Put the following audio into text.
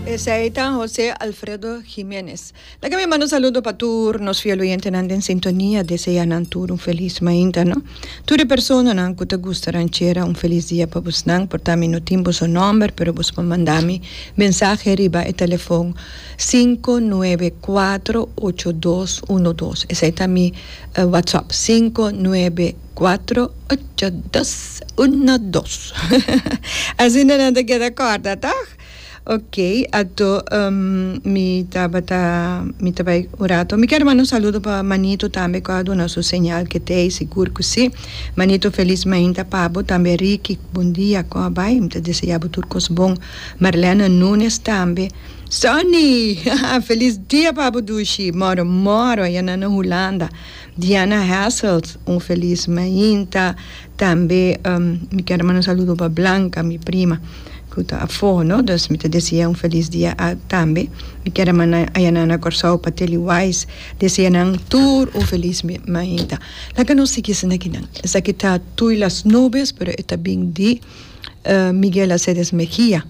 Esei ta Jose Alfredo Jimenez. Laga mi manda un saludo pa tur nos fiel oyentenan den sintonia, desea nan tur un felis mainta no. Tur e personanan ku ta gusta ranchera un felis dia pa bosnan, por ta mi no tin boso nomber pero bos por manda mi mensahe riba e telefon sinku nuebe kuatro ocho dos uno dos esei ta mi whatsapp sinku nuebe kuatro ocho dos uno dos asina nan ta keda kòrda tòg. Ok, ato mi tabata, mi ta bai un rato. Mi kier manda un saludo pa Manito tambe cu a duna su señal ke t'ey, sigur cu si. Manito felis mainta pa bo, tambe Ricky, bon dia, con a bai? Mi ta desea bo tur cos bon. Marlene Nunes tambe. Sonny! Felis dia pa bo dushi! Moro moro, aya nan na Hulanda. Diana Hasselt, un felis mainta. Tambe mi kier manda un saludo pa Blanca, mi prima, cu ta afo, no? Dus mi ta desea un felis dia a tambe. Mi kier a manda ayanan na Corsou pa Tilly Wise, desea nan tur un felis mainta. Laga nos sigui esaki akinan. Esaki ta Tuy las nubes, pero e ta bin di Miguel Aceves Mejia.